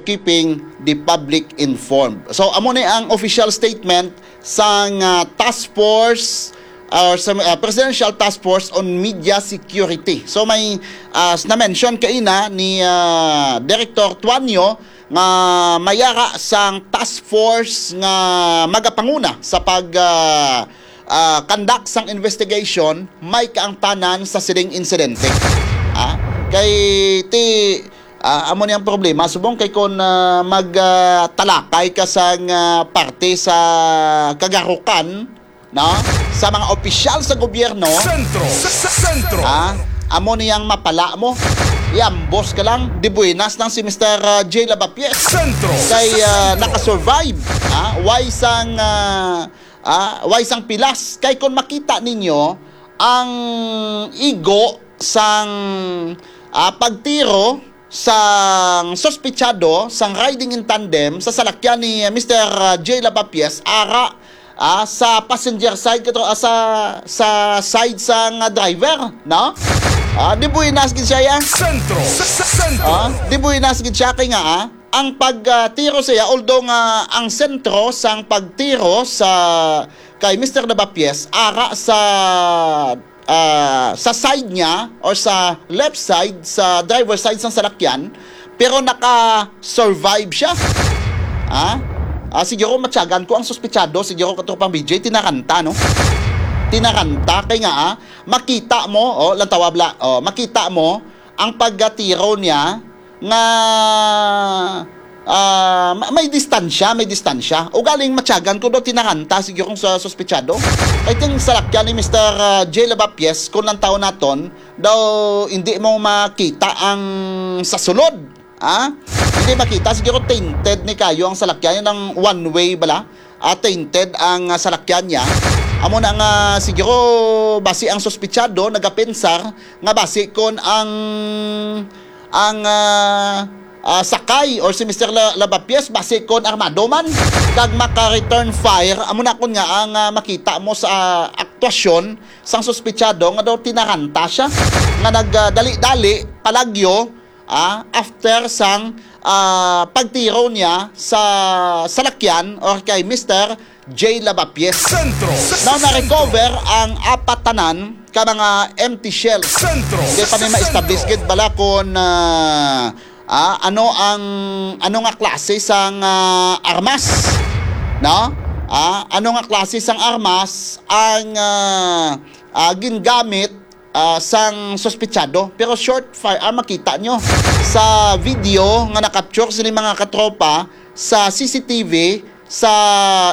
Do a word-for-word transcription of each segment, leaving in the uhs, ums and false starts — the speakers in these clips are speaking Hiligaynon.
keeping the public informed. So, amo ni ang official statement sang, ah, task force or sa, ah, Presidential Task Force on Media Security. So, may, ah, na-mention kaina ni, ah, Director Tuanyo nga mayara sang task force nga magapanguna sa pag, ah, ah, conduct sang investigation may kaangtanan sa sining insidente. Ah, kay ti, ah, amo ni ang problema, subong kay kun, ah, mag, ah, talakay ka sang, ah, parte sa kagarukan, no? Sa mga opisyal sa gobyerno, Sentro! Sa, sa Sentro! Ah, amo niyang mapala mo. Iambos ka lang, di buenas lang si Mister, ah, J Lavapies. Sentro! Kay, Sa ah, Sentro! nakasurvive. Ah, way sang, ah, ah, way sang pilas. Kay kung makita ninyo, ang igo sang, ah, pagtiro sang suspitsado sang riding in tandem sa salakyan ni Mister J Lavapies ara, ah, sa passenger side kato, ah, sa, sa side sang driver, no? Ah, di buenas gid siya, ya. Sentro! Sa, sa Sentro! Ah, di buenas gid siya kay nga, ah, ang pagtiro siya, although nga ang sentro sang pagtiro sa kay Mister Lavapies ara sa, ah, sa side niya or sa left side, sa driver side sang salakyan, pero naka-survive siya. Ah? Ah, siguro matyagan ko ang suspitsado, siguro katropang B J, tinaranta, no? Tinaranta, kay nga, ah, makita mo, oh, lantawa bala, oh, makita mo ang paggatiro niya nga, ah, ma-, may distansya, may distansya. Ugaling matyagan ko daw tinaranta siguro sa suspitsado. I think salakyan ni Mister, ah, J Lavapies, kung ang tao naton, daw hindi mo makita ang sa sulod. Ah? Hindi makita, siguro tainted ni kayo ang salakyan, yun ang one way bala. Ah, tainted ang, ah, salakyan niya. Amo na nga siguro basi ang suspitsado nagapensar nga basi kon ang, ang, ah, ah, sakay or si Mister La-, Lavapies basi kon armado man kag maka-return fire, amo na kon nga ang, ah, makita mo sa, ah, aktwasyon sang suspitsado nga daw tinaranta siya nga nagdali-dali palagyo, ah, after sang, ah, pagtiro niya sa salakyan or kay Mister J Lavapies. Sentro! Sa Now, Sentro! na-recover ang apat tanan ka mga empty shells. Sentro! Di pa Sa ni ma-establish Sentro! gid bala kung, ah, ah, ano ang, ano nga klase sang, ah, armas, no? Ah, ano nga klase sang armas ang, ah, ah, gingamit, ah, sang suspitsado. Pero short fire, ah, makita nyo sa video nga na-capture sini mga katropa sa C C T V sa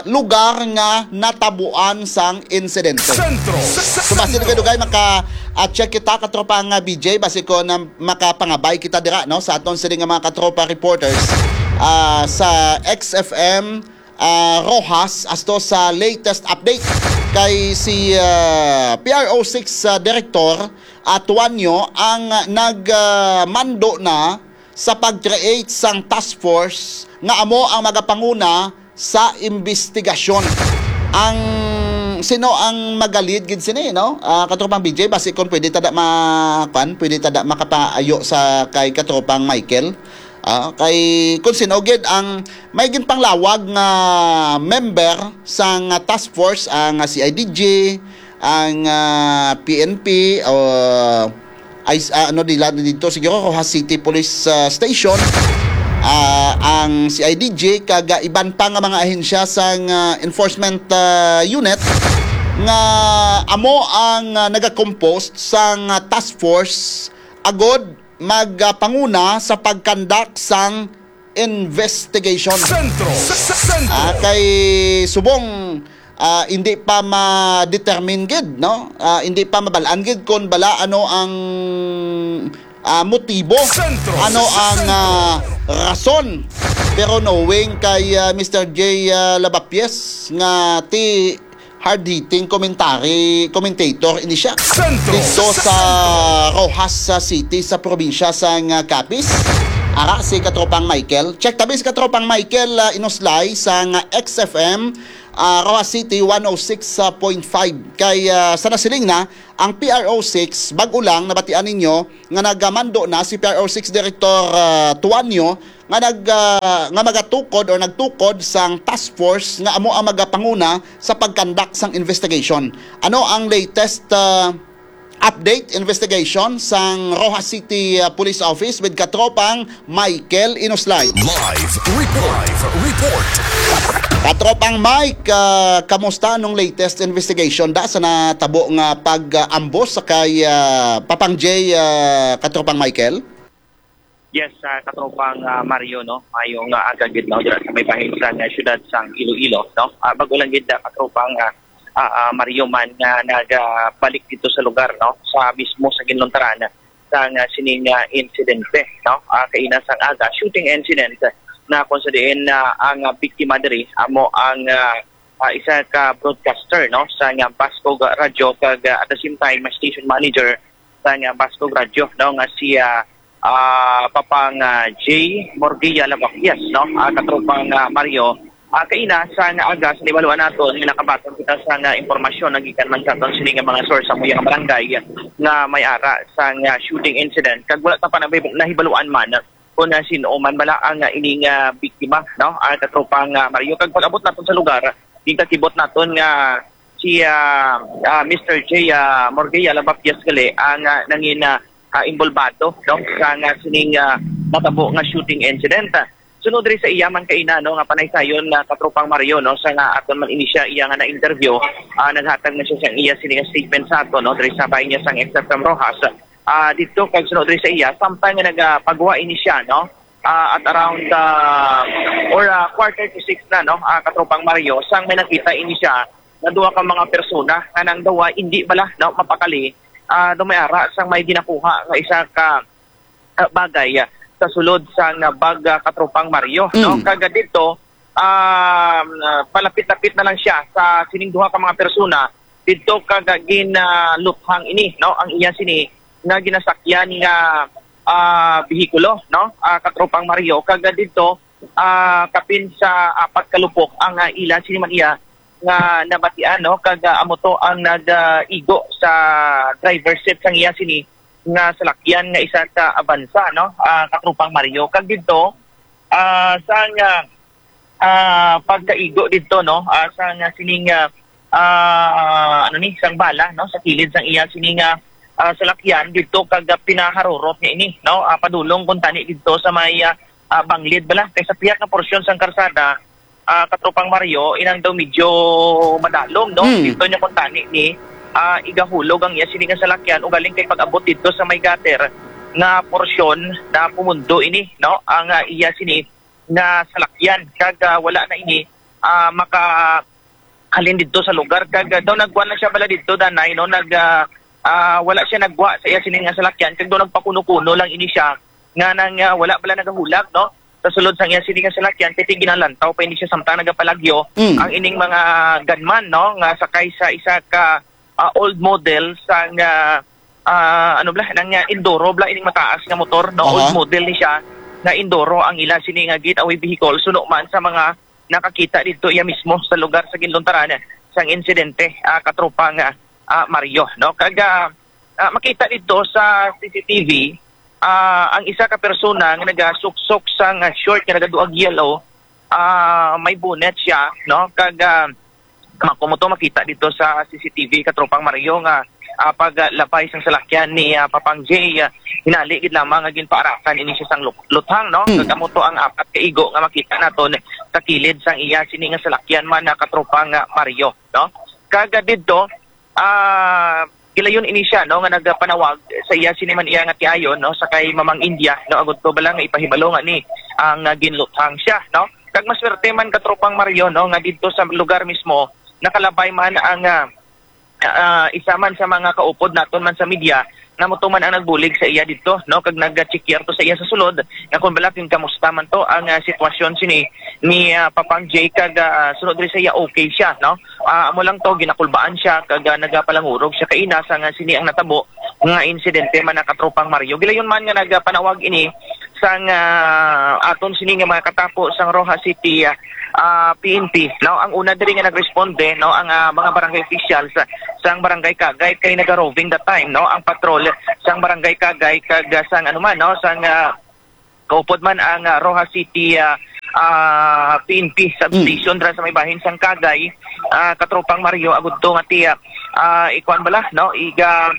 lugar nga natabuan sang insidente. Sentro! Sa, sa So, basi Sentro! dugay-dugay maka, ah, check kita, katropa nga B J, basi ko na makapangabay kita dira, no, sa aton sini nga mga katropa reporters, ah, sa X F M, ah, Roxas, asto sa latest update kay si, ah, P R O six, ah, Director, ah, Tuanyo ang nag, ah, mando na sa pag-create sang task force nga amo ang magapanguna sa imbestigasyon. Ang sino ang magalid gid sini, no? Ah, katropang B J, basi kung pwede tada ma-, kwan, pwede tada makapaayo sa kay katropang Michael. Ah, kay kung sino gid ang may ginpanglawag nga member sang, ah, task force, ang, ah, C I D G, ang, ah, P N P, o ay, ah, ano nila dito, siguro Roxas City Police, ah, Station, ah, ang C I D G, kag, ah, iban pa nga mga ahensya sang, ah, enforcement, ah, unit nga amo ang, ah, nagakompost sang, ah, task force agod magpanguna sa pagkandak sang investigation. Sentro! Sa, sa Sentro! Ah, kay subong, ah, hindi pa ma-determine gid, no? Ah, hindi pa mabalaan gid kung bala ano ang, ah, motibo, Sentro! ano Sa, sa ang, Sentro! ah, rason. Pero knowing kay, ah, Mister J, ah, Lavapies nga ti hard-hitting commentary, commentator ini siya. Sentro! Dito Sa, sa sa Sentro! Roxas, sa city, sa probinsya sa nga Capiz. Ara si katropang Michael. Check tabi si katropang Michael, ah, Inuslay sang X F M, ah, Roxas City one oh six point five. Kay, ah, sa nasiling na, ang P R O six, bag-o lang nabatian ninyo nga nagamando na si P R O six Director, ah, Tuanyo nga nag, ah, nga magatukod or nagtukod sang task force nga amo ang magapanguna sa pagkandak sang investigation. Ano ang latest, ah, update investigation sang Roxas City, ah, Police Office with katropang Michael Inuslay? Live report. Live report. Katropang Mike, ah, kamusta anong latest investigation da sa natabo nga pag-ambos sa kay, ah, Papang J, ah, katropang Michael? Yes, ah, katropang, ah, Mario, no? Mayong, ah, aga gid, no? Dira sa may bahin sa, ah, siyudad sang Iloilo, no? Ah, bag-o lang gid, ah, katropang, ah, ah, ah, Mario man nga nagabalik dito sa lugar, no? Sa mismo sa ginluntaran sa nga sining, ah, insidente, no? Ah, kaina sang aga, shooting incident na kung sa diin, ah, ang, ah, biktima diri amo ang, ah, ah, isa ka broadcaster, no? Sa nga Bascog Radyo kag, ah, at the same time, ah, station manager sa nga Bascog Radyo, no? Nga si, ah, ah, Papang, ah, J Morgia Lavaquias, no? Ah, katropang, ah, Mario. Ah, kaina sa nga aga sa nahibaluan naton nga nakabaton kita sa nga impormasyon nagikan man sa aton sini nga mga source sa among barangay nga may ara sa nga shooting incident. Kag wala ta pa nabib-, nahibaluan man kung, ah, sin-o man bala ang, ah, ining, ah, biktima, no? Ah, katropang, ah, Mario. Kag pag-abot naton sa lugar, gingkakibot naton nga si, ah, ah, Mister J, ah, Morgia Lavaquias gali ang, ah, nangin, ah, ah, involbado, no, sa nga sining, ah, natabo nga shooting incident. Sunod diri sa iya man kaina, no, nga panaysayon na katropang Mario, no, sa nga aton man ini siya iya nga na-interview, ah, naghatag man siya sang iya sini nga statement sa aton, no, diri sa bahin niya sang X F M Roxas. Ah, dito kag sunod diri sa iya, samtang nga nagapagwa ini siya, no, ah, at around, ah, or, ah, quarter to six na, no, ah, katropang Mario, sang may nakita ini siya nga duha ka mga persona nga nang dawa hindi bala, no, mapakali, ah, daw may ara sang may ginakuha nga isa ka, ah, bagay, ah, sa sulod sang bag, ah, katropang Mario, no? Mm. Kag dito, um, ah, palapit-lapit na lang siya sa sining duha ka mga persona dito kag, ah, gin, ah, luthang ini, no? Ang iya sini nga ginasakyan nga, ah, behikulo, no? Ah, katropang Mario, kag, ah, dito, ah, kapin sa apat ka lupok ang, ah, ila sini man iya nga nabatian, no? Kag, ah, amo to ang nag, ah, igo sa driver seat sang iya sini nga salakyan nga isa ka Avanza, no? Ah, katropang Mario. Kag dito, ah, sa nga, ah, pagkaigo dito, no? Ah, sa nga sining, ah, ah, ano ni, sang bala, no? Sa kilid sang iya sining, ah, ah, salakyan dito kag, ah, pinaharurot niya ini, no? Ah, padulong kuntani dito sa may, ah, ah, banglid bala. Kay sa pihak nga porsyon sang karsada, ah, katropang Mario, inang daw medyo madalom, no? Mm. Dito niya kuntani ni, ah, igahulog ang iya sini nga salakyan, ugaling kay pag-abot dito sa may gutter nga porsyon na pumundo ini, no? Ang, ah, iya sini nga salakyan kag, ah, wala na ini, ah, makahalin didto sa lugar kag, ah, daw nagkuan lang siya bala didto, Danay, no? Nag, ah, ah, wala siya nagwa sa iya sini nga salakyan kag daw nagpakuno-kuno lang ini siya nga nang, ah, wala bala nagahulag, no? Sa sulod sang iya sini nga salakyan kay ginalantaw pa ini siya samtang nagapalagyo Mm. ang ining mga gunman, no? Nga sakay sa isa ka, ah, old model sa nga, ah, ano bala, nang, ah, Enduro bala ining mataas nga motor, no? Aha. Old model ni siya nga Enduro ang ila sini nga getaway vehicle. Suno man sa mga nakakita dito iya mismo sa lugar sa ginluntaran sang insidente, ah, katropang, ah, ah, Mario, no? Kag, ah, ah, makita dito sa C C T V, ah, ang isa ka persona nga nagasuksok sang, ah, short nga nagaduag yellow, ah, may bonnet siya, no? Kag, ah, Ma-, kung mo to makita dito sa C C T V, katropang Mario, nga, ah, paglabay sang salakyan ni, ah, Papang J, ah, hinali gid lamang nga ginpaarakan ini siya sang lu-, luthang, no? Hmm. Kag amo to ang apat ka igo nga makita naton sa kilid sang iya sini nga salakyan man, ah, katropang, ah, Mario, no? Kag, ah, didto, ah, gilayon ini siya, no, nga nagapanawag sa iya sini man iya nga tiayon, no, sa kay Mamang India, no, agud to bala nga ipahibalo nga ni ang, ah, ginluthang siya, no? Kag maswerte man, katropang Mario, no, nga didto sa lugar mismo nakalabay man ang, ah, ah, isa man sa mga kaupod naton man sa media, na mo to man ang nagbulig sa iya didto, no, kag nag-check to sa iya sa sulod nga kung bala kamusta man to ang, ah, sitwasyon sini ni, ah, Papang J kag, ah, sunod diri sa iya okay siya, no? Ah, amo lang to, ginakulbaan siya kag, ah, nagapalangurog siya kaina sa nga sini ang natabo nga insidente man, katropang Mario. Gilayon man nga nagapanawag ini sang, ah, aton sini nga mga katapo sang Roxas City, ah, ah, P N P, no? Ang una diri nga nagresponde, no, ang, ah, mga barangay officials, ah, sang Barangay Kagay kay naga-roving that time, no? Ang patrol sang Barangay Kagay kag, ah, sang ano man, no, sang, ah, kaupod man ang, ah, Roxas City, ah, ah, P N P substation dira sa may bahin sang Kagay, ah, Katropang Mario, agud to nga tiya, ah, ikuan bala, no? Iga,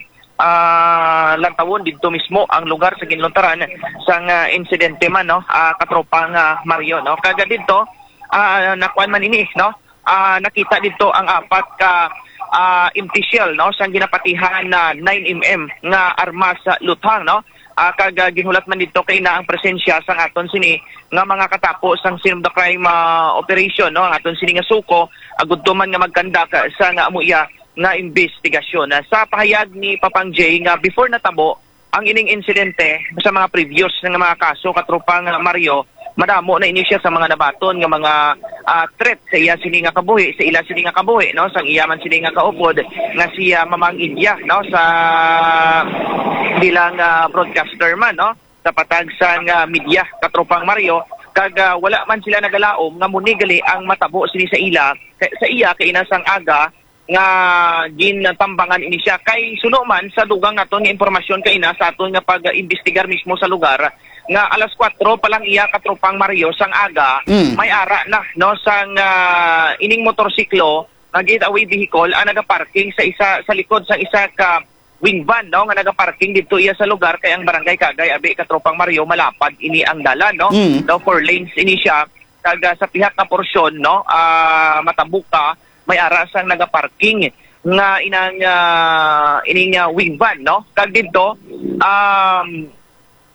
ah, lantawon didto mismo ang lugar sa ginluntaran sang, ah, insidente man, no? Ah, Katropang, ah, Mario, no? Kag didto, ah, nakuan man ini, no? Ah, nakita didto ang apat ka, ah, empty shell, no, sang ginapatihan na nine M M nga armas sa luthang, no? Ah, kag, ah, ginhulat man didto kay na ang presensya sang aton sini nga mga katapo sang scene of the crime, ah, operation, no, ang aton sini nga suko, agud to man nga magkandak sang amo iya nga investigasyon. Ah, sa pahayag ni Papang Jay nga before natabo ang ining insidente sa mga previous nga mga kaso, Katropang Mario, madamo na ini siya sa mga nabaton nga mga, ah, threat sa iya sini nga kabuhi, sa ila sini nga kabuhi, no, sang iya man sini nga kaupod nga si, ah, Mamang India, no, sa bilang, ah, broadcaster man, no, sa patag sang, ah, media, Katropang Mario, kag, ah, wala man sila nagalaom nga muni gali ang matabo sini sa ila, sa, sa iya kaina sang aga nga gintambangan ini siya. Kay suno man sa dugang naton nga impormasyon kaina sa aton nga pag-imbestigar mismo sa lugar, nga alas kuwatro pa lang iya, Katropang Mario, sang aga, Mm. may ara na, no, sang, ah, ining motorsiklo nga getaway vehicle ang nagaparking sa isa, sa likod sang isa ka wing van, no, nga nagaparking didto iya sa lugar, kay ang Barangay Kagay, abi, Katropang Mario, malapad ini ang dalan, no? Mm. No, four lanes ini siya. Kag, ah, sa pihak nga porsyon, no, ah, Matabuka, may ara sang nagaparking nga inang, ah, ining, ah, wing van, no? Kag didto, um,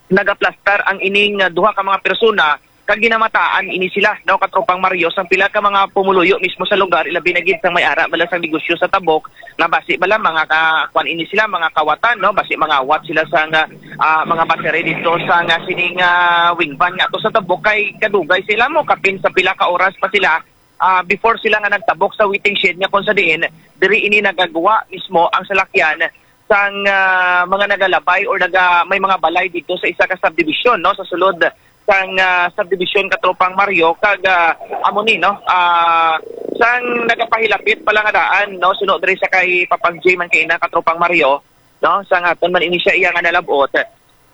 nagaplastar ang ining, ah, duha ka mga persona kag ginamataan ini sila, no, Katropang Mario, sang pila ka mga pumuluyo mismo sa lugar, ilabi na gid sang may ara bala sang negosyo sa Tabok, nga basi bala mga ka, kuan ini sila, mga kawatan, no, basi mangawat sila sa nga, ah, mga battery dito sa nga sining, ah, wing van nga ato sa Tabok, kay kadugay sila mo kapin sa pila ka oras pa sila, ah, before sila nga nagtabok sa waiting shed nga kung sa diin diri ini nagagwa mismo ang salakyan sang, ah, mga nagalabay or naga-, may mga balay dito sa isa ka subdivision, no, sa sulod sang, ah, subdivision, Katropang Mario, kag, ah, amo ni, no, ah, sang nagapahilapit pala nga daan, no, suno diri sa kay Papang J man kaina, Katropang Mario, no, sang aton man ini siya iya nga nalab-ot.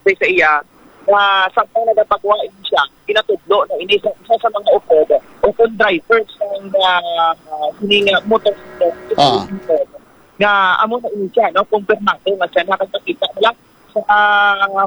Kay sa iya, nga samtang nagapagwa ini siya, ginatudlo na ini sa isa sa mga upod o kung driver sang, ah, sini nga motorsiklo, Ah. nga amo na ini siya, no? Kumpirmado nga siya nakakita na lang sa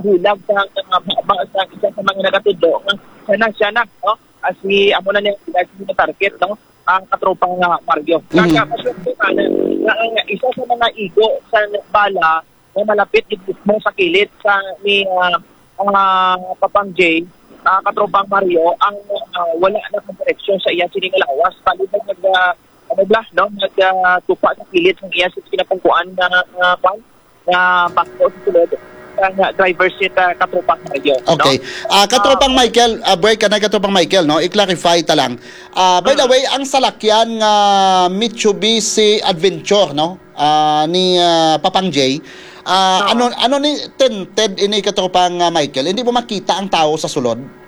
hulag sa, sa baba sa isa sa mga nagatudlo nga siya na, siya na, no? As we, amo na niya, sila sila target, no? Ang Katropang, ah, Mario. Mhm. Kaya, maswerte man na ang isa sa mga igo sa bala nga malapit gid mismo sa kilid sa ni, ah, ah, Papang J, ah, Katropang Mario, ang, ah, wala na ang direksyon sa iya sini nga lawas. Bali na nag, ah, ano bala, no? Nag, ah, tupa sa kilid sa iya sini kinapungkuan nga, nga, kwan, nga bangko sa sulod. Ang, ah, driver seat, ah, Katropang Mario, no? Okay. Ah, Katropang Ah. Michael, ah, break ka na, Katropang Michael, no? I-clarify ta lang. Ah, by the Mm. way, ang salakyan nga Mitsubishi Adventure, no? Ah, ni, ah, Papang J. Ah, Oo. ano, ano ni tinted ini, Katropang, ah, Michael? Hindi mo makita ang tao sa sulod?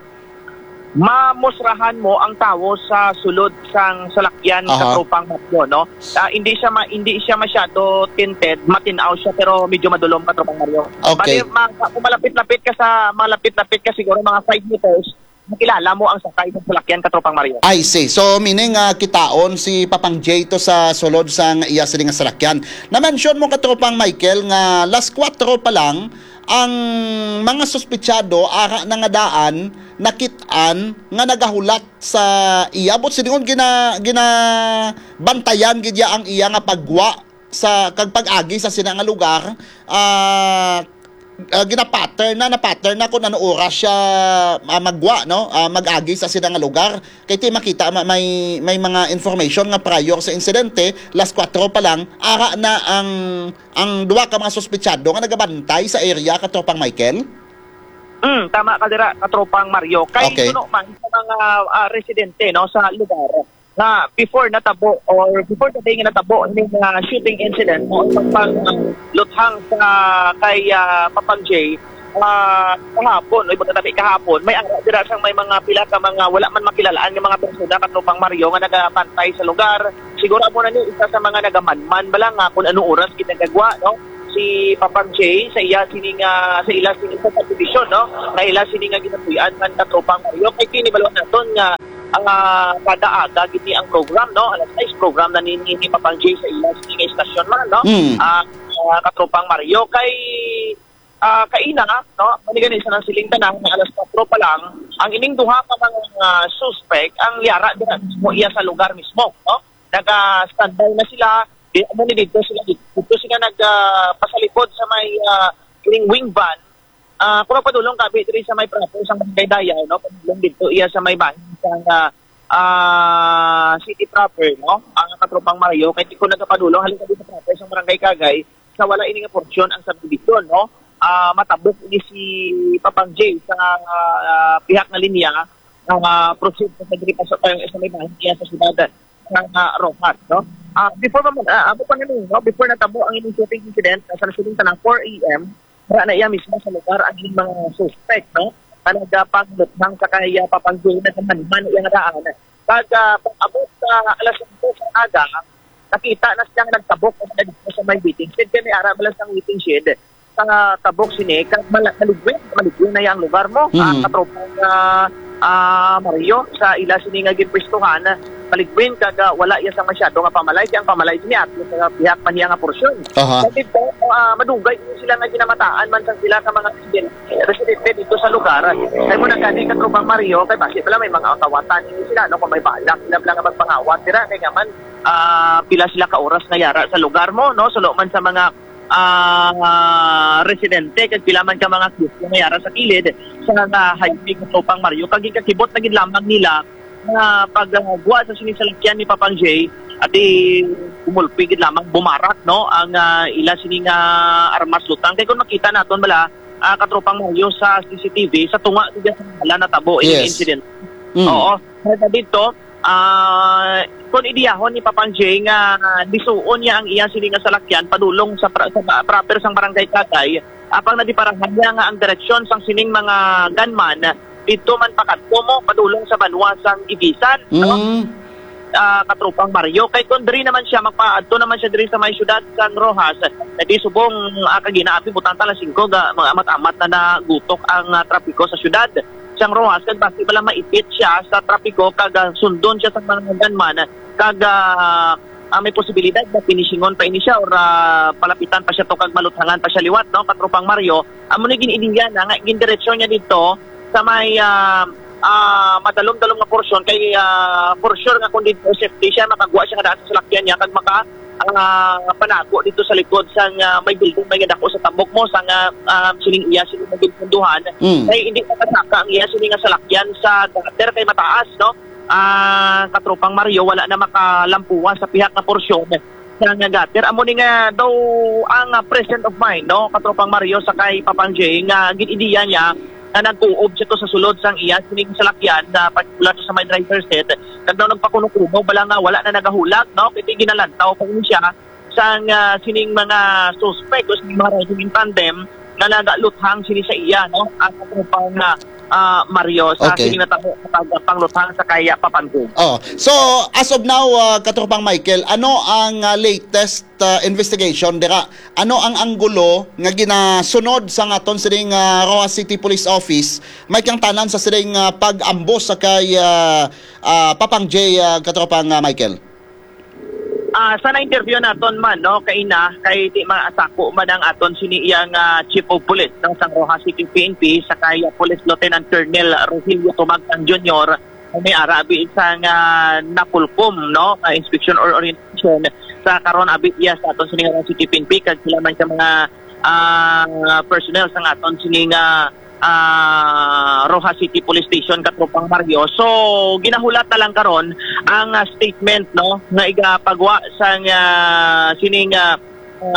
Mamusrahan mo ang tawo sa sulod sang salakyan, Aha. Katropang Mario, no? Ah, hindi siya ma-, hindi siya masyado tinted, matin-aw siya, pero medyo madulom, Katropang Mario. Okay. Bali, ma-, kung malapit-lapit ka sa, malapit-lapit ka siguro mga five meters, makilala mo ang sakay ng salakyan, Katropang Mario. I see. So, meaning, ah, kitaon si Papang J to sa sulod sang iya sini nga salakyan. Na-mention mo, Katropang Michael, nga alas kuwatro pa lang, ang mga suspetsado ara na nga daan nakit-an nga nagahulat sa iya. Buot silingon, gina-, ginabantayan gid niya ang iya nga paggwa sa, kag pag-agi sa sina nga lugar. Ah, ah, gina-pattern na, na-pattern na kung ano oras siya, ah, maggwa, no? Ah, mag-agi sa sina nga lugar. Kay ti makita, ma-, may, may mga information nga prior sa insidente, alas kuwatro pa lang, ara na ang, ang duha ka mga suspetsado nga nagabantay sa area, Katropang Michael? Mm, tama ka dira, Katropang Mario. Kay Okay. suno man sa mga, ah, residente, no, sa lugar, nga before natabo or before the day nga natabo ning, ah, shooting incident, no, pag, pag, ah, luthang sa kay, ah, Papang J, ah, kahapon, o ibutang tabi kahapon, may ara dira sang may mga pila ka mga wala man makilalaan nga mga persona, Katropang Mario, nga nagabantay sa lugar. Siguro amo na ni isa sa mga nagamanman bala nga kung ano oras ginagagwa, no? Si Papang Jay sa iya sini nga, sa ila sini sa subdivision, no? Nga ila sini nga ginapuy-an man, Katropang Mario. Kay kini balo naton nga, ah, kada aga gid ni ang program, no? Alas sais program na ni, ni, ni Papang Jay sa ila sini nga istasyon man, no? Mm. Ah, ah, Katropang Mario, kay ah, kaina, no? Mao ni gani sa nang siling tanan nga alas kuwatro pa lang, ang ining duha ka mga, ah, suspect ang yara dira mismo iya sa lugar mismo, no? Naga-standby na sila. Di amo ni dito sila, dito sila nag, ah, pasalikod sa may, ah, ining wing van. Ah, kung magpadulong ka, abi, diri sa may proper sa Barangay Dayaw, no? Padulong dito iya sa may bahin sa, ah, ah, city proper, no? Ang Katropang Mario, kay kung nagapadulong, halin ka dito proper sa Barangay Kagay, sa wala ini nga porsyon ang subdivision, no? Ah, matabok ini si Papang Jay sa, ah, pihak nga linya, ah, proceed sa diri pa sa, sa may bahin niya sa siyudad sa, ah, Roxas, no? Ah, before pa man, ah, amo pa na ni, no? Before natabo ang ining shooting incident, sa nasiling tanan four a m, wala na iya mismo sa lugar ang ining mga suspect, no? Nga nagapanglutang sa kay, ah, Papang Jay, nagamanman iya nga daan. Kag, ah, pag-abot sa alas singko sa aga, nakita na siya nga nagtabok na dito sa may waiting shed. Kay may ara bala sang waiting shed sa tabok sini, kag mala-, maligwin, maligwin na yang lugar mo. Ah, Mm. Katropang, ah, ah, Mario, sa ila sini nga ginpwestuhan, maligwin, kag, ah, wala iya sang masyado nga pamalay. Kay ang pamalay sini ato sa pihak pa niya nga porsyon. Aha. Kag dito, ah, madugay sila nga ginamataan man sang sila ka mga residente, residente dito sa lugar. Kay mo nagkani, Katropang Mario, kay basi pala may mga awat-awatan ini sila, no? Kung may balak sila pala nga magpangawat sila, kay nga man, ah, pila sila ka oras nga yara sa lugar mo, no? Suno man sa mga, ah, residente, kag pila man ka mga kiosk nga yara sa kilid sa nga highway, Katropang Mario, kag gikakibot na gid lamang nila nga pagwa sa sini salakyan ni Papang Jay, at di kumulpi gid lamang bumarak, no, ang, ah, ila sini nga armas lutang. Kay kung makita naton bala, ah, Katropang Mario, sa C C T V, sa tunga gid sa hala natabo ining Yes. incident. Mm. Oo. Kaya dito, ah, kung idiyahon ni Papang Jay nga lisuon niya ang iya sini nga salakyan padulong sa pra-, sa ba-, proper sang Barangay Kagay, apang nadiparahan niya nga ang direksyon sang sining mga gunman dito man pakadto mo padulong sa banwa sang Ibisan, no? Mm. Ah, Katropang Mario, kay kung diri naman siya magpaadto naman siya diri sa may siyudad sang Roxas, na di subong, ah, kagina abi butang ta alas singko ga, mga amat-amat na nagutok ang, ah, trapiko sa siyudad sang Roxas, kag basi bala maipit siya sa trapiko kag, ah, sundon siya sa mga gunman kag, ah, ah, may posibilidad na finishingon pa ini siya or, ah, palapitan pa siya to kag maluthangan pa siya liwat, no, Katropang Mario. Amo ni gin-ideya na nga gindiretso niya dito sa may, ah, ah, madalom-dalom nga porsyon kay, ah, for sure nga kung dito safety siya, makagwa siya nga daan sa salakyan niya kag maka, ah, panago dito sa likod sang, ah, may building may nga dako sa tabok mo sang, ah, ah, sining iya sini nga ginpunduhan. Mm. Kay hindi makasaka ang iya sini nga salakyan sa gutter kay mataas, no? Ah, Katropang Mario, wala na makalampuwa sa pihak nga porsyon sa nga gutter. Amo ni nga daw ang, ah, present of mind, no, Katropang Mario, sa kay Papang Jay, nga gin-ideya niya nga nag-uob siya to sa sulod sang iya sining salakyan, sa particular sa may driver's seat. Kag daw nagpakuno-kuno bala nga wala na nagahulag, no, kay ginalantaw pa rin siya sang, ah, sining mga suspect o sining mga riding in tandem nga nagaluthang sini sa iya, no, ang Katropang, ah, ah, Mario, sa Okay. sining natabo sa pag-, pangluthang sa kay Papang Jay. Oh, so as of now, ah, Katropang Michael, ano ang, ah, latest, ah, investigation dira? Ano ang anggulo nga ginasunod sa aton sining, ah, Roxas City Police Office? May kang tanan sa sining, ah, pag-ambos sa kay, ah, ah, Papang Jay, ah, Katropang, ah, Michael? Ah, sa na-interview naton man, no, kaina, kay di masako man ang aton sini iyang, ah, Chief of Police ng sang Roxas City P N P, sa kay, ah, Police Lieutenant Colonel Rogelio Tumagtang Junior, may ara abi sa nga napulkom, no, ah, inspection or orientation sa karon abi iya sa aton sini nga Roxas City P N P, kag sila man sa mga, ah, personnel sa aton sini nga ah, Roxas City Police Station, Katropang Mario. So, ginahulat na lang karon ang, ah, statement, no, nga igapagwa sang, ah, sining, ah,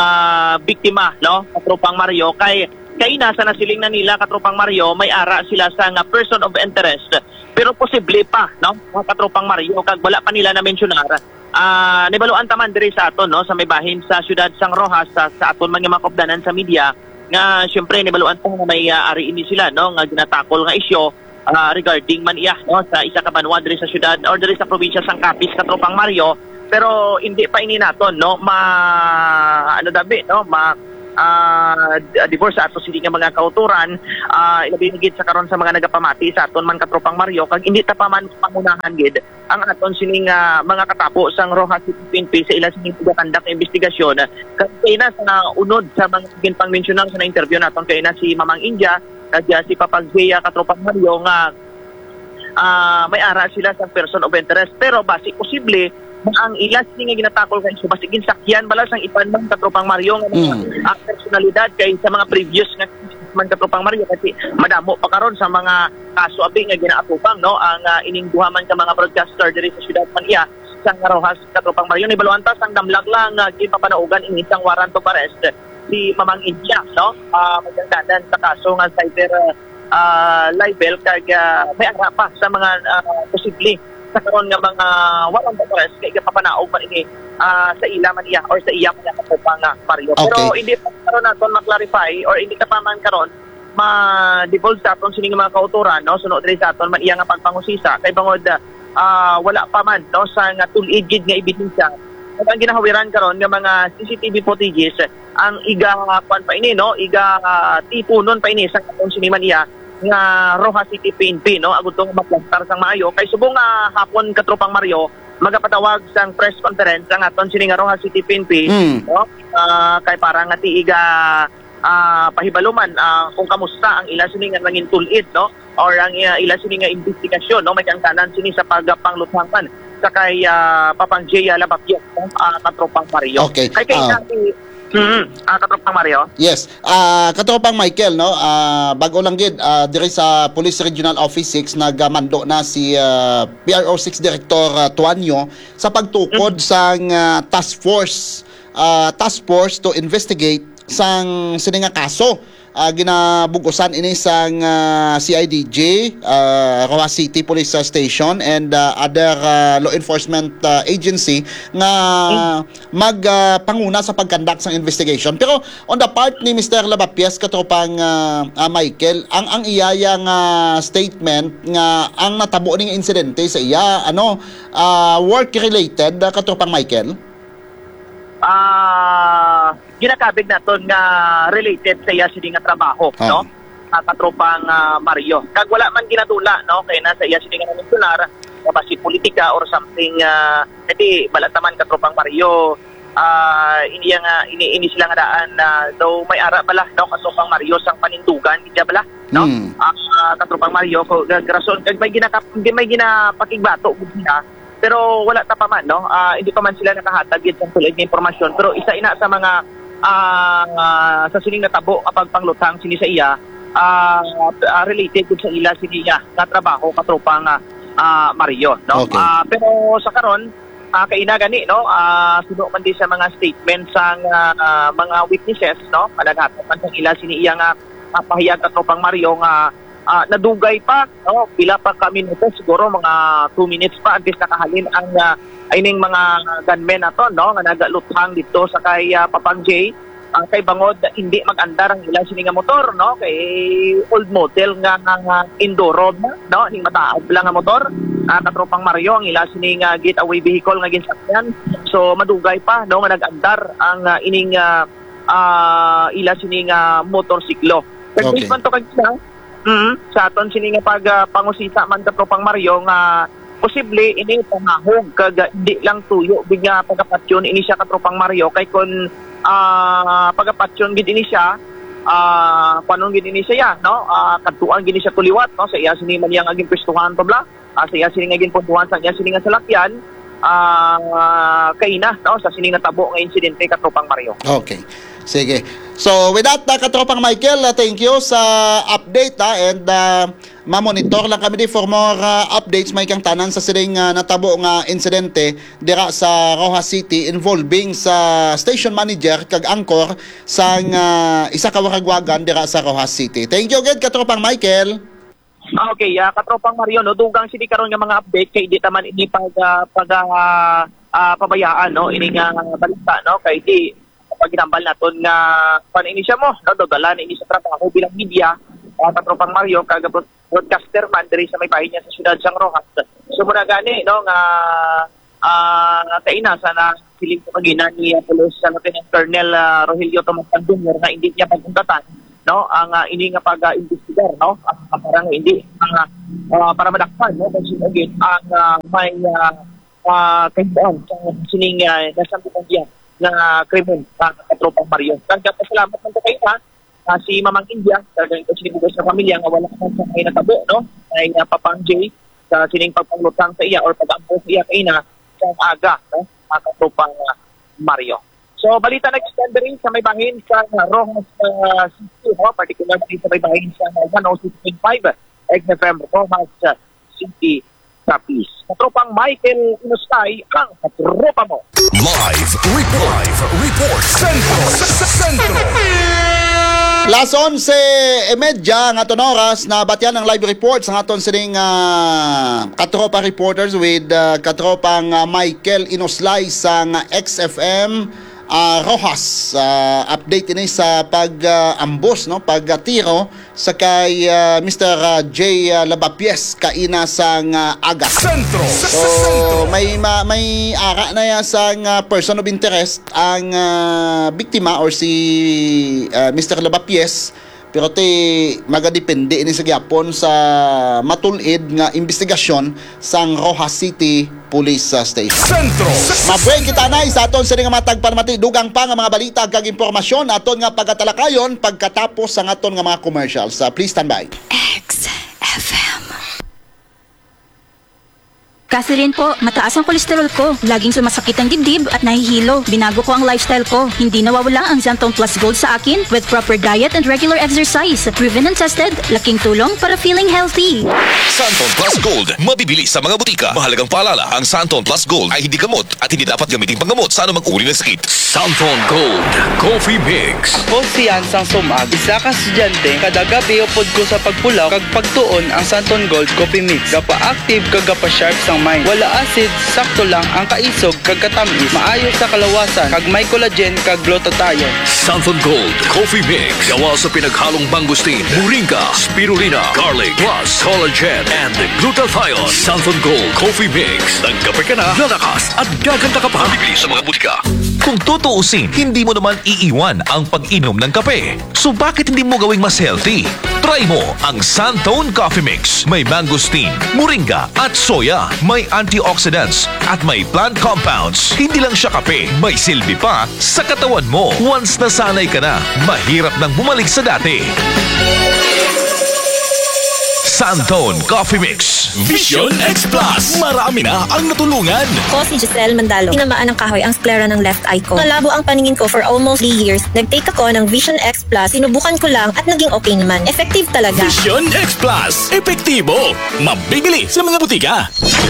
ah, biktima, no, Katropang Mario. Kay kaina sa nasiling na nila, Katropang Mario, may ara sila sa nga person of interest. Pero posible pa, no, mga Katropang Mario, kag wala pa nila na-mensionar. Ah, nibaluan ta man diri sa aton, no, sa may bahin sa siyudad sang Roxas, sa, sa aton man nga mga kaupdanan sa media, nga siyempre nibaluan ta nga may, ah, ari ini sila, no, nga ginatakol nga isyu, ah, regarding man iya, no, sa isa ka banwa diri sa syudad or diri sa probinsya sang Capiz, Katropang Mario. Pero hindi pa ini naton, no, ma, ano, dabi, no, ma, ah, d-, divorce sa ato sini nga mga kauturan, ah, ilabi na gid sa karon sa mga nagapamati sa aton man, Katropang Mario, kag hindi ta pa man pangunahan gid ang aton sining, ah, mga katapo sang Roxas City P N P sa ila sining pagakandak nga investigasyon. Kag kay na sa unod sa mga ginpangmensyonan sa na-interview naton kay na si Mamang India, kag, ah, si Papang Jay, ah, Katropang Mario, nga, ah, may ara sila sa person of interest. Pero basi posible nga ang ila sini nga ginatakol kay so basi ginsakyan bala sang iban man, Katropang Mario, nga mga, Mm. ah, personalidad kay sa mga previous nga man, Katropang Mario, kasi madamo pa karon sa mga kaso abi nga ginaatubang, no, ang, ah, ining duha man ka mga broadcaster diri sa siyudad man iya sa Roxas, Katropang Mario. Nibaluan ta sang damlag lang nga ginpapanaugan ini sang warrant of arrest si Mamang India, no? Ah, magdangganan sa kaso nga cyber, ah, libel kag, ah, may ara pa sa mga, ah, posible sa karon nga mga warrant of arrest kay gapapanaog man ini, ah, sa ila man iya or sa iya man iya, Katropang, ah, Mario. Pero Okay. hindi pa karon naton ma-clarify or hindi ka pa man karon ma-divulge sa aton sining mga kauturan, no? Suno diri sa aton man iya nga pagpangusisa kay bangod, ah, wala pa man, no, sa nga tul-id gid nga ebidensya. Kag ang ginahawiran karon nga mga C C T V footages ang iga, kuwan pa ini, no? Iga, ah, tipunon pa ini sa aton sini man iya nga Roxas City P N P, no? Agud to nga maplantar sang maayo kay subong nga hapon, Katropang Mario, magapatawag sang press conference ang aton sini nga Roxas City P N P, Mm. no? Ah, kay para nga ti iga, ah, pahibalo man, ah, kung kamusta ang ila sini nga nangin tul-id, no? Or ang, ah, ila sini nga investigasyon, no? May kaangtanan sini sa pagpangluthang man sa kay, ah, Papang Jay, ah, Labapias, no? Ah, Katropang Mario. Okay. Kay, kay Ah. kay, mm, ah, Katropang Mario. Yes. Ah, Katropang Michael, no? Ah, bag-o lang gid, ah, diri sa Police Regional Office six, nagmando na si, ah, P R O six Director, ah, Tuanyo sa pagtukod Mm. sang, ah, task force, ah, task force to investigate sang sini nga kaso. Ah, ginabug-usan ini sang, ah, C I D G, ah, Roxas City Police, ah, Station and, ah, other, ah, law enforcement, ah, agency nga Mm. mag, ah, panguna sa pag-conduct sang investigation. Pero on the part ni Mister Labapias, Katropang, ah, ah, Michael, ang, ang iya nga statement nga ang natabo ning insidente sa iya, ano, ah, work-related, ah, Katropang Michael? Ah, ginakabig naton nga related sa iya sini nga trabaho, Ah. no? Ah, Katropang, ah, Mario. Kag wala man ginadula, no? Kay na sa iya sini nga mensionar, nga basi politika or something, ah, hindi, wala ta man, Katropang Mario. Ah, ini nga, ini, ini sila nga daan na daw may ara bala, no? Katropang Mario, sang panindugan, gid bala, no? Hmm. Ah, Katropang Mario, ko, ga-, rason, kag may ginaka-, may ginapakigbato gid sila. Pero wala ta pa man, no? Ah, hindi pa man sila nakahatag gid sang tul-id nga impormasyon. Pero isa ina sa mga, ah, ah, sa sining natabo nga pagpangluthang sini sa iya, ah, ah, related gid sa ila sini iya nga trabaho, Katropang, ah, ah, Mario, no? Okay. Ah, pero sa karon, ah, kay ina gani, no? Ah, suno man di sa mga statement sang, ah, ah, mga witnesses, no? Nga naghatag man sang ila sini iya nga, ah, pahayag, Katropang Mario, nga ah, nadugay pa, no? Pila pa ka minuto, siguro mga two minutes pa, antes nakahalin ang, ah, ining mga gunmen nato, no? Nga nagaluthang dito sa kay, ah, Papang J. Ah, kay bangod, hindi mag-andar ang ila sini nga motor, no? Kay old model nga, nga, nga Enduro na, no? Ning mataag lang nga motor, ah, Katropang Mario, ang ila sini nga getaway vehicle nga ginsakyan. So, madugay pa, no? Nga nag-andar ang, ah, ining, ah, ah, ila sini nga motorsiklo. Kag Okay. based man to kag isa, mm, sa aton sini nga pag, ah, pangusisa man, Katropang Mario, nga posible ini pangahog kag, ah, hindi lang tuyo gid nga pagapatyon ini siya, Katropang Mario, kay kun, ah, pagapatyon gid ini siya, ah, kuanon gid ini siya, no? Ah, kadtuan gid ini siya tuliwat, no? Sa iya sini man iya nga ginpwestuhan to bala, ah, sa iya sini nga ginpuntuhan sa iya sini nga salakyan, ah, kaina, no, sa sini nga tabo nga insidente, Katropang Mario. Okay. Sige. So, with that, uh, Katropang Michael, uh, thank you sa update, ah, and, uh, mamonitor lang kami di for more, uh, updates, may kang tanan sa sining, uh, natabo nga insidente dira sa Roxas City involving sa station manager kag anchor sang, uh, isa ka waragwagan dira sa Roxas City. Thank you again, Katropang Michael. Ah, okay, ah, Katropang Mario, no, dugang sini karon nga mga update kay di ta man ini pag, ah, pag, ah, ah, pabayaan, no, ini nga balita, no, kay di paghinambal naton nga kuan ini siya mo, no, dala na ini sa trabaho bilang media, ah, katropang Mario, kag broad-, broadcaster man diri sa may bahin niya sa siyudad sang Roxas. So, muna gani, no, nga, ah, kaina sa nasiling sa pagina ni, ah, Police Lieutenant Colonel, ah, Rogelio Tomas Junior nga hindi niya pagkundatan, no, ang, ah, ini nga pag-imbestigar, no, ang, ah, para nga hindi, ah, ah, para madakpan, no, kung sino gid ang, ah, may, ah, ah, kahimuan sa sining, ah, nasangkutan niya nga krimen, ah, katropang Mario. Kag pasalamat man ko kayo, ha, ah, si Mamang India, talagang ito sinibugay sa pamilya nga wala man sa may natabo, no? Ay, ah, Papang J, sa sining pagpanglutang sa iya or pag-ampo sa iya kaina sa aga, no? Mga katropang, ah, Mario. So, balita nag-extend diri sa may bahin sa Roxas, ah, City, no? Particular diri sa may bahin sa one oh six point five X F M Roxas, ah, City, Capiz. Katropang Michael Inustay, ang katropa mo. Live report. Live report. Sentro. Sentro. Las onse y media nga aton oras, nabatian ang live report sa aton sining, ah, katropa reporters with, ah, katropang, ah, Michael Inoslay sang X F M, ah, Roxas. Ah, update ini sa pag, ah, ambos, no, pag, ah, tiro sa kay, ah, Mister, ah, J, ah, Labapies kaina sang, ah, aga. Sentro. So, Sentro. may ma-, may ara na ya sang, ah, person of interest ang, ah, biktima or si, ah, Mister Labapies. Pero ti magadepende ini sa gyapon sa matulid nga investigasyon sang Roxas City Police, ah, Station. Sentro. Mabuhay kita, Nay, sa aton sini nga mga tagpanamati. Dugang pa nga mga balita kag impormasyon aton nga pagatalakayon pagkatapos sang aton nga mga commercials. Ah, please stand by. X F M. Catherine po, mataas ang kolesterol ko. Laging sumasakit ang dibdib at nahihilo. Binago ko ang lifestyle ko. Hindi nawawala ang Xanthone Plus Gold sa akin with proper diet and regular exercise. Proven and tested, laking tulong para feeling healthy. Santon Plus Gold, mabibili sa mga butika. Mahalagang paalala, ang Santon Plus Gold ay hindi gamot at hindi dapat gamitin panggamot sa anumang uri ng sakit. Santon Gold Coffee Mix. Ako si Yan Sang Sumag, isa ka estudyante. Kada gabi upod ko sa pagpulaw kag pagtuon ang Santon Gold Coffee Mix. Gapa-active kag gapa-sharp sang mind. Wala acid, sakto lang ang kaisog kag katamis. Maayo sa kalawasan kag may collagen kag glutathione. Santon Gold Coffee Mix. Gawa sa pinaghalong mangosteen, moringa, spirulina, garlic, plus collagen and glutathione. Santon Gold Coffee Mix. Nagkape ka na, lalakas at gaganda ka pa. Bibili sa mga butika. Kung tutuusin, hindi mo naman iiwan ang pag-inom ng kape. So bakit hindi mo gawing mas healthy? Try mo ang Santone Coffee Mix. May mangosteen, moringa, at soya. May antioxidants at may plant compounds. Hindi lang siya kape, may silbi pa sa katawan mo. Once nasanay ka na, mahirap nang bumalik sa dati. Santone Coffee Mix. Vision X Plus. Marami na ang natulungan. Ako si Giselle Mandalo. Tinamaan ng kahoy ang sclera ng left eye ko. Malabo ang paningin ko for almost three years. Nag-take ako ng Vision X Plus. Sinubukan ko lang at naging okay naman. Effective talaga. Vision X Plus. Epektibo. Mabibili sa mga butika.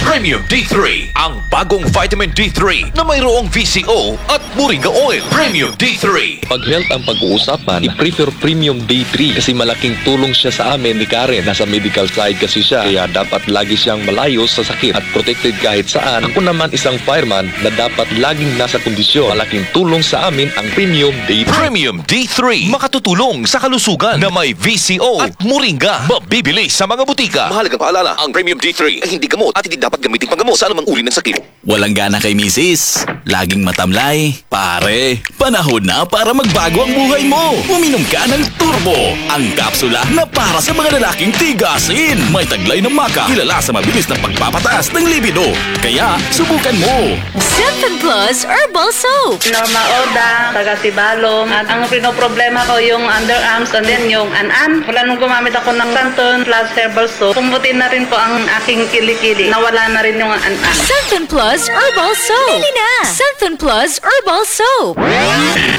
Premium D three, ang bagong vitamin D three na mayroong V C O at moringa oil. Premium D three. Pag health ang pag-uusapan, i-prefer Premium D three kasi malaking tulong siya sa amin ni Karen. Nasa medical side kasi siya, kaya dapat lagi siyang malayo sa sakit at protected kahit saan. Ako naman isang fireman na dapat laging nasa kondisyon. Malaking tulong sa amin ang Premium D three. Premium D three, makatutulong sa kalusugan na may V C O at moringa. Mabibili sa mga butika. Mahalagang paalala, ang Premium D three ay hindi gamot at hindi dapat gamitin panggamot sa anumang uri ng sakit. Walang gana kay misis? Laging matamlay? Pare, panahon na para magbago ang buhay mo! Uminom ka ng Turbo, ang kapsula na para sa mga lalaking tigasin. May taglay na maca, kilala sa mabilis na pagpapataas ng libido. Kaya, subukan mo! Santon Plus Herbal Soap. Norma Oda, taga Sibalom. At ang pinoproblema ko yung underarms and then yung an-an. Mula nung gumamit ako ng Santon Plus Herbal Soap, pumuti na rin po ang aking kilikili. Nawala na rin yung an-an. Santon Plus Herbal Soap. Bili na! Santon Plus Herbal Soap.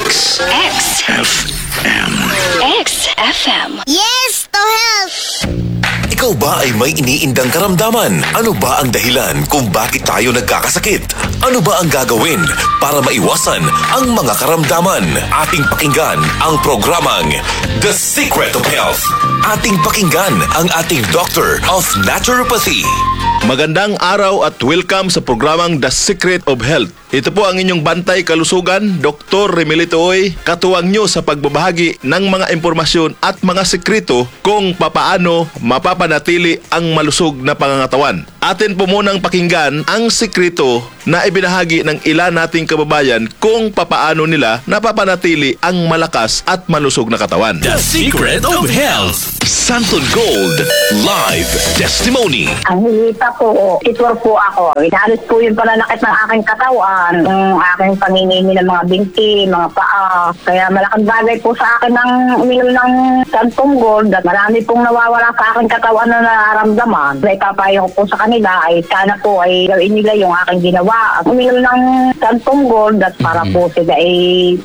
X. X F M. X F M. Yes to health! Ikaw ba ay may iniindang karamdaman? Ano ba ang dahilan kung bakit tayo nagkakasakit? Ano ba ang gagawin para maiwasan ang mga karamdaman? Ating pakinggan ang programang The Secret of Health. Ating pakinggan ang ating Doctor of Naturopathy. Magandang araw at welcome sa programang The Secret of Health. Ito po ang inyong bantay kalusugan, Doktor Remilito Uy, katuwang nyo sa pagbabahagi ng mga impormasyon at mga sikreto kung papaano mapapanatili ang malusog na pangangatawan. Atin po munang pakinggan ang sikreto na ibinahagi ng ila nating kababayan kung papaano nila napapanatili ang malakas at malusog na katawan. The Secret of Health. Santon Gold Live Testimony. Ang hihita po, sitwar po ako. Inalis po yung pananakit ng aking katawan, yung aking panginginig ng mga binti, mga paa. Kaya malaking bagay po sa akin ang uminom ng Santon Gold at marami pong nawawala sa aking katawan na nararamdaman. Naipapayo ko po sa kanila ay sana po ay gawin nila yung aking ginawa. At uminom ng Santon Gold at para po sila ay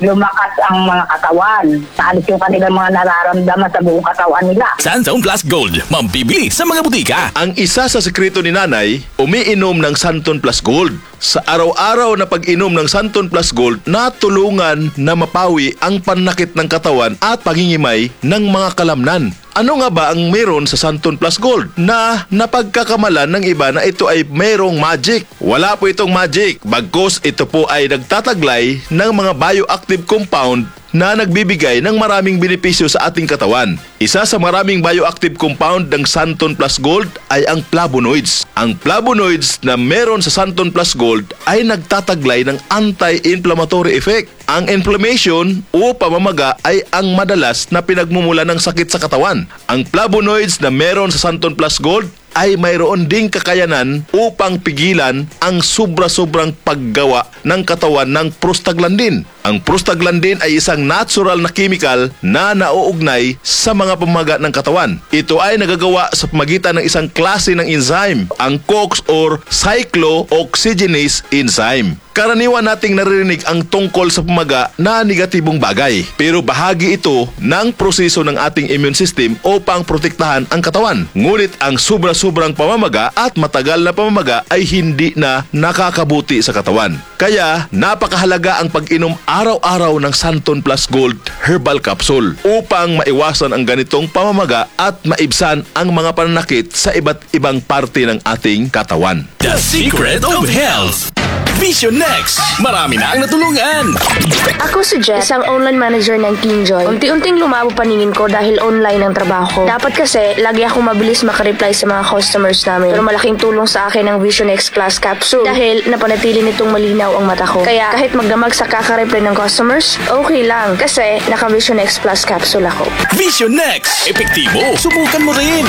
lumakas ang mga katawan. Naalis yung kanilang mga nararamdaman sa buong katawan nila. Santon Plus Gold, mabibili sa mga butika. Ang isa sa sikreto ni Nanay, umiinom ng Santon Plus Gold. Sa araw-araw na pag-inom ng Santon Plus Gold, natulungan na mapawi ang pananakit ng katawan at pangingimay ng mga kalamnan. Ano nga ba ang meron sa Santon Plus Gold na napagkakamalan ng iba na ito ay mayroong magic? Wala po itong magic, bagkus ito po ay nagtataglay ng mga bioactive compound na nagbibigay ng maraming benepisyo sa ating katawan. Isa sa maraming bioactive compound ng Santon Plus Gold ay ang flavonoids. Ang flavonoids na meron sa Santon Plus Gold ay nagtataglay ng anti-inflammatory effect. Ang inflammation o pamamaga ay ang madalas na pinagmumula ng sakit sa katawan. Ang flavonoids na meron sa Santon Plus Gold ay mayroon ding kakayanan upang pigilan ang sobra-sobrang paggawa ng katawan ng prostaglandin. Ang prostaglandin ay isang natural na chemical na nauugnay sa mga pamaga ng katawan. Ito ay nagagawa sa pamagitan ng isang klase ng enzyme, ang COX or cyclooxygenase enzyme. Karaniwan nating naririnig ang tungkol sa pamaga na negatibong bagay, pero bahagi ito ng proseso ng ating immune system upang protektahan ang katawan. Ngunit ang sobra-sobrang pamamaga at matagal na pamamaga ay hindi na nakakabuti sa katawan. Kaya napakahalaga ang pag-inom araw-araw ng Santon Plus Gold Herbal Capsule upang maiwasan ang ganitong pamamaga at maibsan ang mga pananakit sa iba't ibang parte ng ating katawan. The Secret of Health. Vision Next. Marami na ang natulungan. Ako si Jess, isang online manager ng Kingjoy. Unti-unting lumabo paningin ko dahil online ang trabaho ko. Dapat kasi, lagi akong mabilis makareply sa mga customers namin. Pero malaking tulong sa akin ang Vision X Plus Capsule dahil napanatili nitong malinaw ang mata ko. Kaya kahit magdamag sa kakareply ng customers, okay lang kasi naka Vision X Plus Capsule ako. Vision X. Epektibo. Subukan mo rin.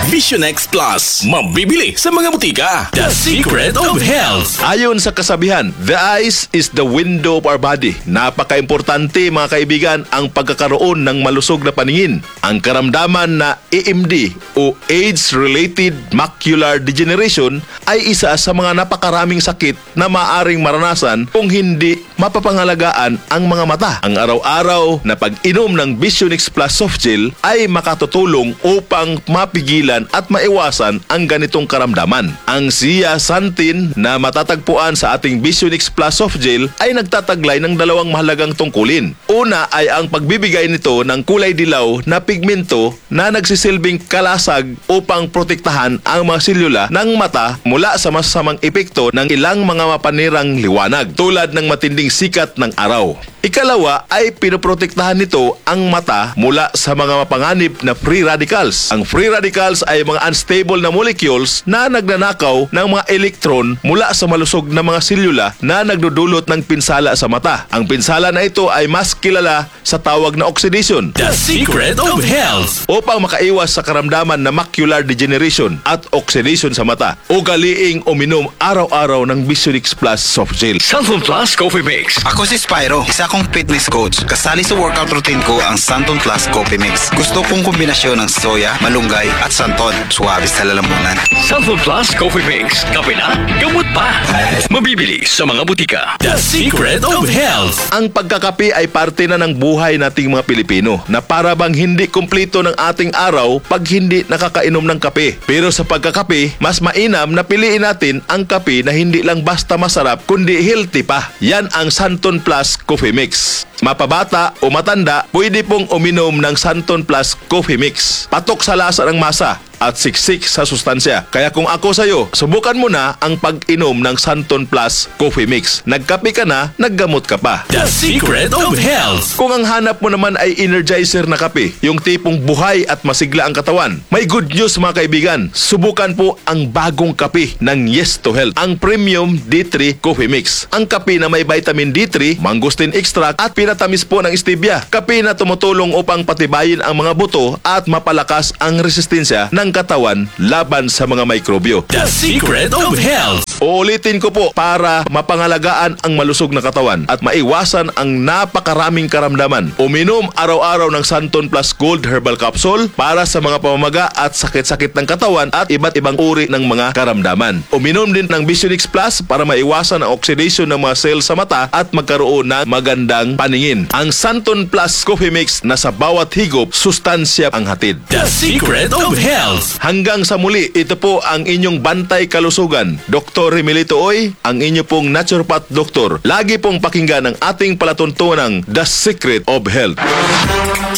Vision X Plus. Mabibili sa mga butika. The Secret of Health. Ayon sa kasabihan, the eyes is the window of our body. Napakaimportante, mga kaibigan, ang pagkakaroon ng malusog na paningin. Ang karamdaman na A M D o age-related macular degeneration ay isa sa mga napakaraming sakit na maaring maranasan kung hindi mapapangalagaan ang mga mata. Ang araw-araw na pag-inom ng Vision X Plus Soft Gel ay makatutulong upang mapigilan at maiwasan ang ganitong karamdaman. Ang zeaxanthin na matatagpuan sa ating Vision X Plus Soft Gel ay nagtataglay ng dalawang mahalagang tungkulin. Una ay ang pagbibigay nito ng kulay dilaw na pigmento na nagsisilbing kalasag upang protektahan ang mga selula ng mata mula sa masasamang epekto ng ilang mga mapanirang liwanag, tulad ng matinding sikat ng araw. Ikalawa ay pinoprotektahan nito ang mata mula sa mga mapanganib na free radicals. Ang free radicals ay mga unstable na molecules na nagnanakaw ng mga elektron mula sa malusog na mga selula na nagdudulot ng pinsala sa mata. Ang pinsala na ito ay mas kilala sa tawag na oxidation. The Secret of Health. Upang makaiwas sa karamdaman na macular degeneration at oxidation sa mata, ugaliing uminom araw-araw ng Vision X Plus Soft Gel. Santon Plus Coffee Mix. Ako si Spyro, isa kong fitness coach. Kasali sa workout routine ko ang Santon Plus Coffee Mix. Gusto kong kombinasyon ng soya, malunggay, at santon. Suwabe sa lalamunan. Santon Plus Coffee Mix. Kape na, gamot pa. Mabibili sa mga butika. The Secret of Health. Ang pagkakape ay parte na ng buhay nating mga Pilipino na para bang hindi kumpleto ng ating araw pag hindi nakakainom ng kape. Pero sa pagkakape, mas mainam na piliin natin ang kape na hindi lang basta masarap kundi healthy pa. Yan ang Santon Plus Coffee Mix. Mapabata o matanda, pwede pong uminom ng Santon Plus Coffee Mix. Patok sa lasa ng masa, at siksik sa sustansya. Kaya kung ako sayo, subukan mo na ang pag-inom ng Santon Plus Coffee Mix. Nagkape ka na, naggamot ka pa. The Secret of Health. Kung ang hanap mo naman ay energizer na kape, yung tipong buhay at masigla ang katawan, may good news, mga kaibigan. Subukan po ang bagong kape ng Yes to Health, ang Premium D three Coffee Mix. Ang kape na may vitamin D three, mangosteen extract at pinatamis po ng stevia. Kape na tumutulong upang patibayin ang mga buto at mapalakas ang resistensya ng katawan laban sa mga mikrobyo. The Secret of Health. Uulitin ko po, para mapangalagaan ang malusog na katawan at maiwasan ang napakaraming karamdaman, uminom araw-araw ng Santon Plus Gold Herbal Capsule para sa mga pamamaga at sakit-sakit ng katawan at iba't ibang uri ng mga karamdaman. Uminom din ng Visionix Plus para maiwasan ang oxidation ng mga cells sa mata at magkaroon ng magandang paningin. Ang Santon Plus Coffee Mix na sa bawat higop, sustansya ang hatid. The Secret of Health. Hanggang sa muli, ito po ang inyong bantay kalusugan, Doktor Remilito Uy, ang inyo pong naturopath doktor. Lagi pong pakinggan ang ating palatuntunang The Secret of Health.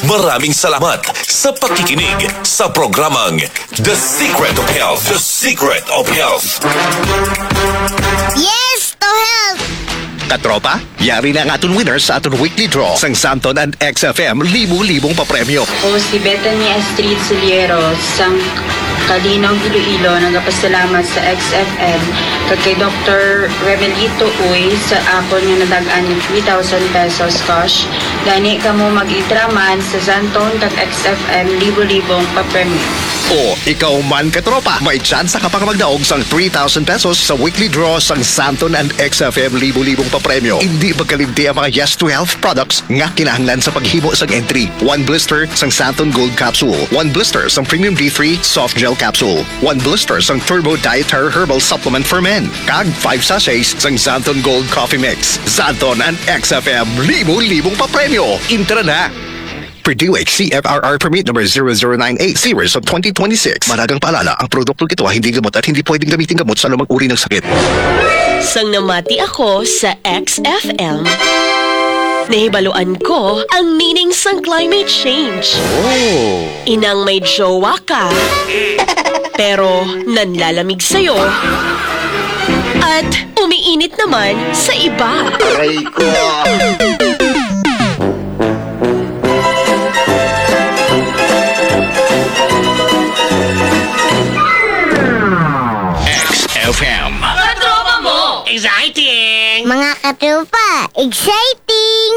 Maraming salamat sa pakikinig sa programang The Secret of Health. The Secret of Health. Yes to health! Katropa, yari na ang aton winner sa aton weekly draw sang Santon and X F M libo-libong papremyo. Ako si Bethany Astrid Suliero, sang Calinog, Iloilo, nagapasalamat sa X F M kag kay Doktor Remelito Uy sa akon nga nadag-an nga three thousand pesos cash. Gani kamo mag-itra man sa Santon kag X F M libo-libong papremyo. O ikaw man, katropa, may tsansa ka pa nga magdaog sang three thousand pesos sa weekly draw sang Santon and X F M libo-libong papremyo. Indi magkalimti ang mga Yes to Health products nga kinahanglan sa paghimo sang entry. One blister sang Santon Gold Capsule, one blister sang Premium D three Soft Gel Capsule, one blister sang Turbo Dietary Herbal Supplement for Men, kag five sachets sang Santon Gold Coffee Mix. Santon and X F M, libo-libong papremyo. Intra na! Purdue C F R R Permit Number zero zero nine eight, Series of twenty twenty-six. Mahalagang paalala, ang produktong ito ay hindi gamot at hindi pwedeng gamitin gamot sa anumang uri ng sakit. Sang namati ako sa X F M, nahibaluan ko ang meaning sang climate change. Oh. Inang may jowa ka, pero nanlalamig sa'yo, at umiinit naman sa iba. Aray ko. X F M. Katropa mo! Exciting! Mga katropa, exciting!